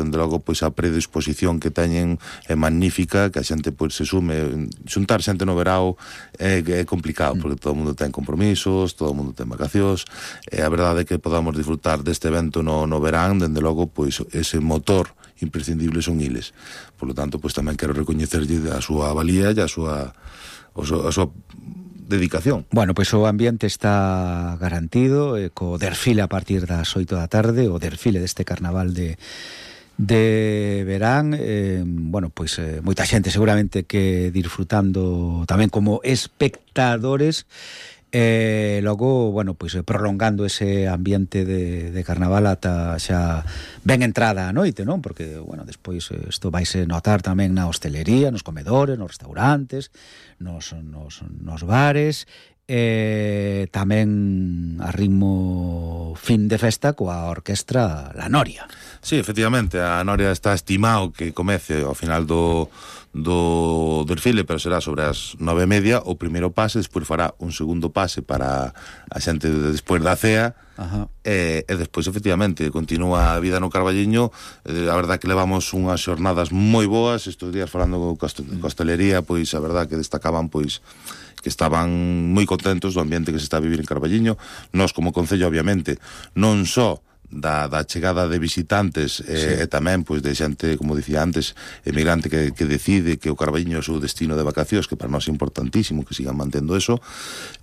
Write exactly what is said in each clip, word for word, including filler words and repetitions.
dende logo, pois a predisposición que teñen é magnífica, que a xente pois se sume. Xuntar xente no verao é, é complicado, porque todo o mundo ten compromisos, todo o mundo ten vacacións, e a verdade é que podamos disfrutar deste evento no, no verán, dende logo, pois ese motor imprescindible son iles. Por lo tanto, pois tamén quero recoñecerlle a súa valía e a súa, a súa, a súa dedicación. Bueno, pois o ambiente está garantido, eh, co desfile a partir das oito da tarde, o desfile deste carnaval de de verán, eh, bueno, pois eh, moita xente seguramente que disfrutando tamén como espectadores, e eh, logo, bueno, pois prolongando ese ambiente de, de carnaval ata xa ben entrada a noite, non? Porque, bueno, despois isto vaise notar tamén na hostelería, nos comedores, nos restaurantes, nos, nos, nos bares, e tamén a ritmo fin de festa coa orquestra La Noria. Sí, efectivamente, a Noria está estimado que comece ao final do do desfile, pero será sobre as nove e media o primeiro pase, despois fará un segundo pase para a xente despois da cea. Ajá. E, e despois efectivamente continúa a vida no Carballiño. Eh, a verdad que levamos unhas xornadas moi boas estes días falando con hostelería, pois a verdad que destacaban pois que estaban moi contentos do ambiente que se está a vivir en Carballiño. Nós como concello obviamente non só da, da chegada de visitantes e, sí. e tamén pois de xente, como dicía antes, emigrante que, que decide que o Carballiño é o seu destino de vacacións, que para nós é importantísimo que sigan mantendo eso,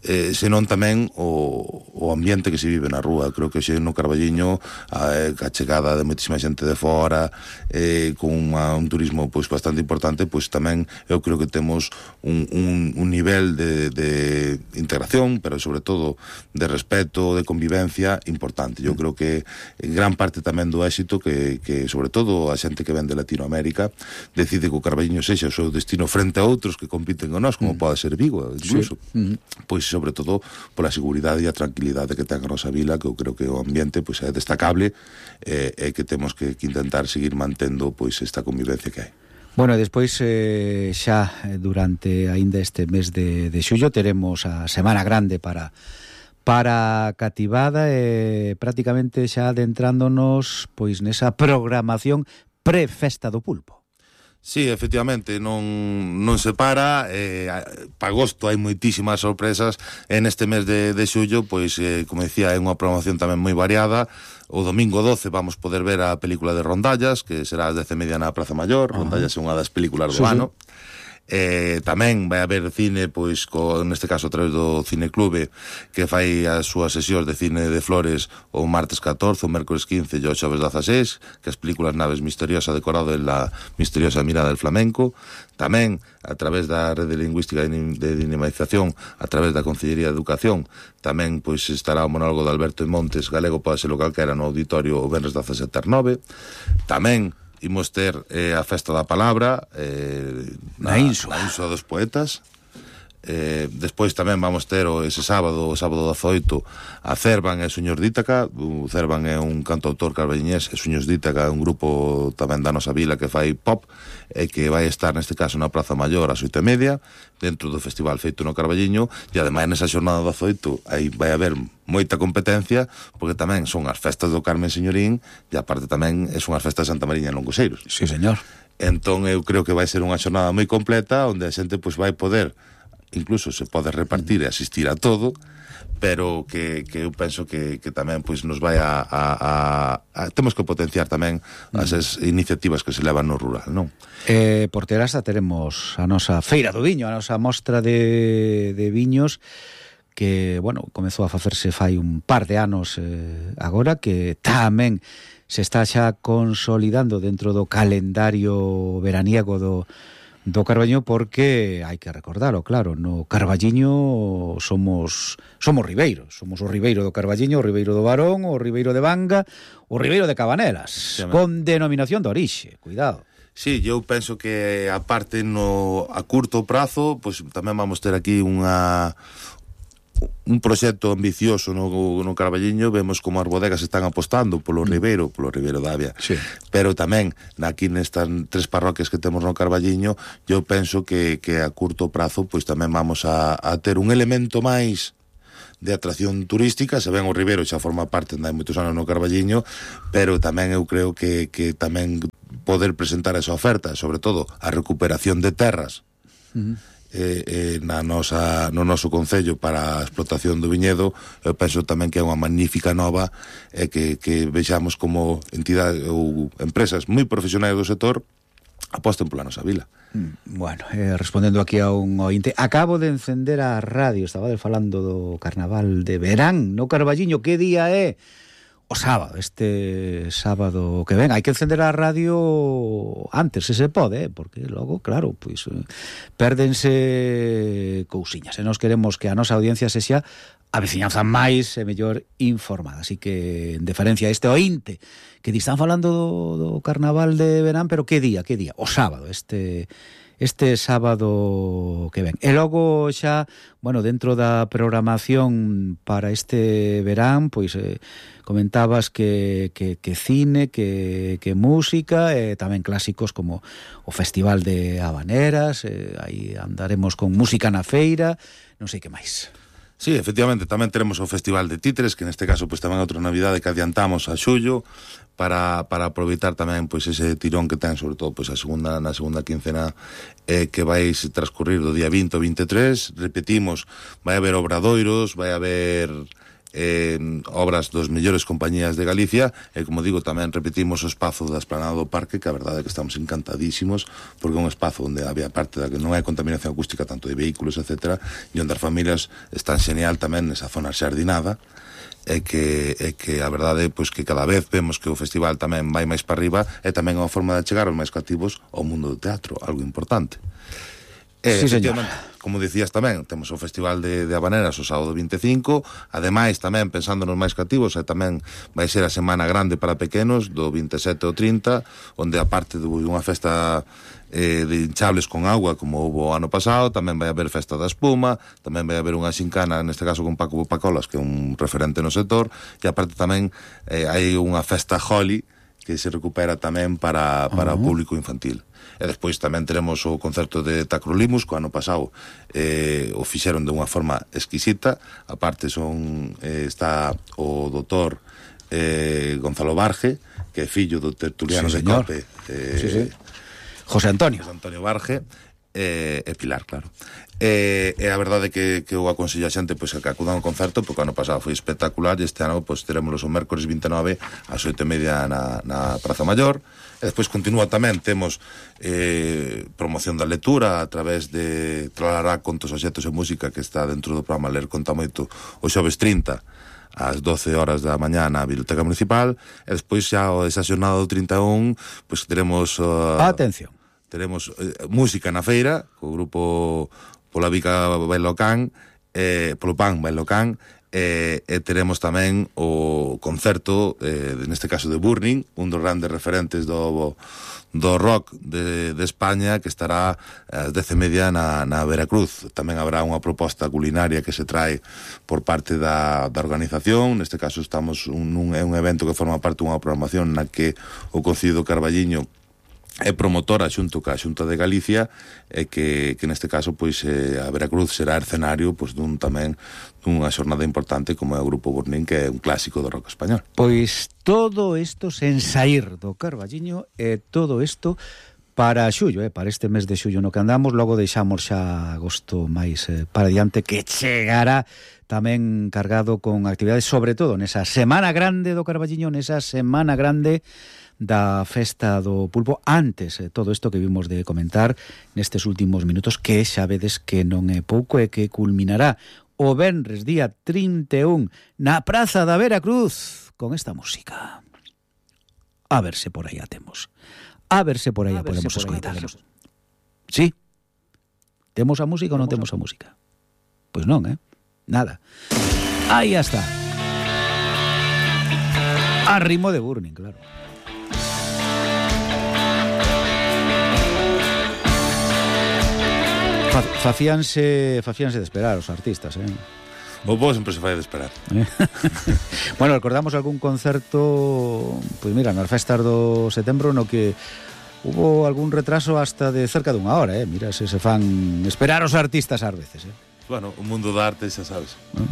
eh, senón tamén o, o ambiente que se vive na rúa. Creo que xe no Carballiño a, a chegada de moitísima xente de fora, eh, con uma, un turismo pois bastante importante, pois tamén eu creo que temos un, un, un nivel de, de integración, pero sobre todo de respeto, de convivencia importante. Eu creo que en gran parte tamén do éxito que, que sobre todo a xente que ven de Latinoamérica decide que o Carballiño sexa o seu destino frente a outros que compiten con nós, como mm. pode ser Vigo incluso, sí. mm. pois sobre todo pola seguridade e a tranquilidade que ten a nosa vila, que eu creo que o ambiente pois é destacable e eh, que temos que, que intentar seguir mantendo pois esta convivencia que hai. Bueno, despois eh, xa durante aínda este mes de, de xullo teremos a Semana Grande para para cativada e prácticamente xa adentrándonos pois nesa programación pre-festa do pulpo. Sí, efectivamente, non, non se para, eh, para agosto hai moitísimas sorpresas, en este mes de, de xullo, pois, eh, como dicía, é unha programación tamén moi variada. O domingo doce vamos poder ver a película de Rondallas, que será ás dez e media na Praza Maior. Uh-huh. Rondallas é unha das películas do sí, ano. Sí. Eh, tamén vai haber cine, pois, co, neste caso a través do Cineclube, que fai as súas sesións de cine de Flores o martes catorce, o mércores quince e o xoves dezaseis, que as películas Naves Misteriosa decorado en la misteriosa mirada del flamenco. Tamén a través da rede lingüística de dinamización, a través da Consellería de Educación, tamén pois estará o monólogo de Alberto Montes, galego pode ser lo calquera, no auditorio o venres dezasete ás nove. Tamén imos ter eh, a Festa da Palabra eh, na, na Insua dos Poetas. Eh, despois tamén vamos ter o, ese sábado, o sábado dezaoito, a Cervan e Suños d'Ítaca. O Cervan é un cantautor carballiñés, e Suños d'Ítaca é un grupo tamén da nosa vila que fai pop, e que vai estar neste caso na Praza Maior ás oito e media, dentro do festival feito no Carballiño. E ademais nesa xornada dezaoito aí vai haber moita competencia, porque tamén son as festas do Carmen Señorín, e aparte tamén son as festas de Santa Mariña en Longoseiros. Sí, señor. Entón eu creo que vai ser unha xornada moi completa, onde a xente pois vai poder, incluso se pode repartir e asistir a todo, pero que, que eu penso que, que tamén pois nos vai a, a, a, a temos que potenciar tamén as mm. iniciativas que se levan no rural, non? Eh, por Terasa teremos a nosa Feira do Viño, a nosa mostra de, de viños, que, bueno, comezou a facerse fai un par de anos eh, agora, que tamén se está xa consolidando dentro do calendario veraniego do do Carballiño, porque hai que recordarlo, claro, no Carballiño somos somos ribeiros, somos o ribeiro do Carballiño, o ribeiro do Barón, o ribeiro de Banga, o ribeiro de Cabanelas, sí, con denominación de orixe, cuidado. Sí, eu penso que aparte no a curto prazo, pois pues, tamén vamos ter aquí unha un proxecto ambicioso no, no Carballiño. Vemos como as bodegas están apostando polo ribeiro, polo ribeiro da Avia, sí. Pero tamén aquí nestas tres parroquias que temos no Carballiño, eu penso que, que a curto prazo pois tamén vamos a, a ter un elemento máis de atracción turística. Se ven o Ribeiro xa forma parte de moitos anos no Carballiño, pero tamén eu creo que, que tamén poder presentar esa oferta, sobre todo a recuperación de terras, uh-huh. eh, eh, na nosa, no noso concello para a explotación do viñedo, eu penso tamén que é unha magnífica nova, e eh, que, que vexamos como entidades ou empresas moi profesionais do sector aposten pola nosa vila. Bueno, eh, respondendo aquí a un ointe, acabo de encender a radio, estaba falando do carnaval de verán no Carballiño. Que día é? O sábado, este sábado que ven. Hai que encender a radio antes, se se pode, eh? Porque logo, claro, pois eh, pérdense cousiñas, e nos queremos que a nosa audiencia se xa a veciñanza máis e mellor informada. Así que, en deferencia a este ointe, que están falando do, do carnaval de verán, pero que día, que día? O sábado, este este sábado que ven. E logo xa, bueno, dentro da programación para este verán, pois eh, comentabas que, que, que cine, que, que música, e tamén clásicos como o Festival de Habaneras, eh, aí andaremos con música na feira, non sei que máis. Sí, efectivamente, tamén teremos o Festival de Títeres, que neste caso pois tamén é outra novidade que adiantamos a xullo para, para aproveitar tamén pois ese tirón que ten, sobre todo pois a segunda, na segunda quincena eh, que vais transcurrir do día vinte ao vinte e tres. Repetimos, vai haber obradoiros, vai haber eh, obras dos mellores compañías de Galicia, e como digo, tamén repetimos o espazo da Esplanada do Parque, que a verdade é que estamos encantadísimos, porque é un espazo onde había parte da que non hai contaminación acústica tanto de vehículos, etcétera, e onde as familias están xenial tamén nesa zona xardinada, e que, e que a verdade é pois, que cada vez vemos que o festival tamén vai máis para arriba, e tamén é unha forma de chegar aos máis cativos ao mundo do teatro, algo importante. Eh, sí, señor. Como dicías tamén, temos o Festival de, de Habaneras o sábado vinte e cinco, ademais tamén pensando nos máis cativos, e tamén vai ser a semana grande para pequenos do vinte e sete ao trinta, onde aparte de unha festa eh, de hinchables con agua como houve o ano pasado, tamén vai haber festa da espuma, tamén vai haber unha xincana, neste caso con Paco Pacolas, que é un referente no sector, e aparte tamén eh, hai unha festa Holly que se recupera tamén para, para uh-huh. o público infantil. E despois tamén teremos o concerto de Tacrolimus, que o ano pasado eh, o fixeron de unha forma exquisita. Aparte son eh, está o doutor eh, Gonzalo Barge, que é fillo do tertuliano sí, de Cope, eh, sí, sí. José Antonio José Antonio Barge, e eh, Pilar, claro. E, e a verdade que, que eu aconsello a xente pois, que acudan ao concerto, porque o ano pasado foi espectacular, e este ano pois, teremos o mércores vinte e nove ás oito e media na, na Praza Maior. E despois continúa tamén, temos eh, promoción da lectura a través de Tralará Contos, Obxectos e Música, que está dentro do programa Ler Conta Moito o xoves trinta ás doce horas da mañá na Biblioteca Municipal. E despois xa esa xornada do trinta e un pois teremos uh, atención, teremos eh, música na feira co grupo Pola Vica Bailocán, eh, Polo Pan Bailocán, e, e teremos tamén o concerto, eh, neste caso de Burning, un dos grandes referentes do, do rock de, de España, que estará ás dez e media na, na Veracruz. Tamén habrá unha proposta culinaria que se trae por parte da, da organización. Neste caso estamos un, un, é un evento que forma parte dunha programación na que o Concello do Carballiño é promotora xunto ca Xunta de Galicia, e que, que neste caso pois eh, a Veracruz será escenario pois dun tamén dunha xornada importante como é o Grupo Burning, que é un clásico do rock español. Pois todo isto sen saír do Carballiño, e todo isto para xullo, eh, para este mes de xullo no que andamos. Logo deixamos xa agosto máis eh, para diante, que chegará tamén cargado con actividades, sobre todo nesa semana grande do Carballiño, nesa semana grande da festa do pulpo. Antes, eh, todo isto que vimos de comentar nestes últimos minutos, que xa vedes que non é pouco, e que culminará o venres día trinta e un na Praza da Veracruz con esta música. A ver se por aí a temos. A ver se por aí a, a podemos escoitar. Sí? Temos a música ou non temos a música? Pois non, eh? Nada. Aí está. A ritmo de Burning, claro. Facíanse, facíanse de esperar os artistas, eh? O bo sempre se fai de esperar. Bueno, recordamos algún concerto, pois mira, nas festas do setembro, no que hubo algún retraso hasta de cerca dunha hora, eh? Mira, se se fan esperar os artistas ás veces, eh? Bueno, o mundo da arte, xa sabes. ¿No?